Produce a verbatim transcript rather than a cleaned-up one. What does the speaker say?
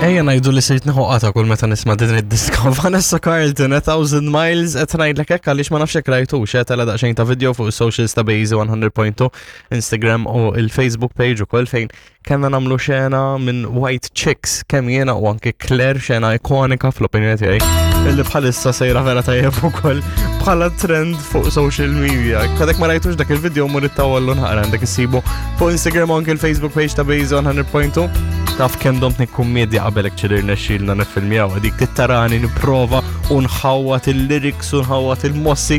Ejja ngħidu li sirt nieħu qata kull meta nisma' din id-diska. Vanessa Carlton, A Thousand Miles, qed ngħidlek hekk għaliex ma nafx hekk rajtux, eh, tela daqsxejn ta' video fuq is-socials ta' Bejzi one hundred point two, Instagram u il-Facebook page ukoll, fejn kellna nagħmlu xena minn White Chicks, kemm jiena u anke Claire, xena ikonika fl-opinjoni tiegħi, illi bħalissa sejra vera tajjeb ukoll bħala trend fuq social media. Għadek ma rajtux dak il-video, mur ittawallu naqra, għandek issibu fuq Instagram u anke il-Facebook page ta' Bejzi one hundred point two. Taf kemm domt nikkummedja qabel ċilir nexxilna nifilmjaw għadik tittarani nipprova u nħawwat il-lyrics u nħawwat il-mossi.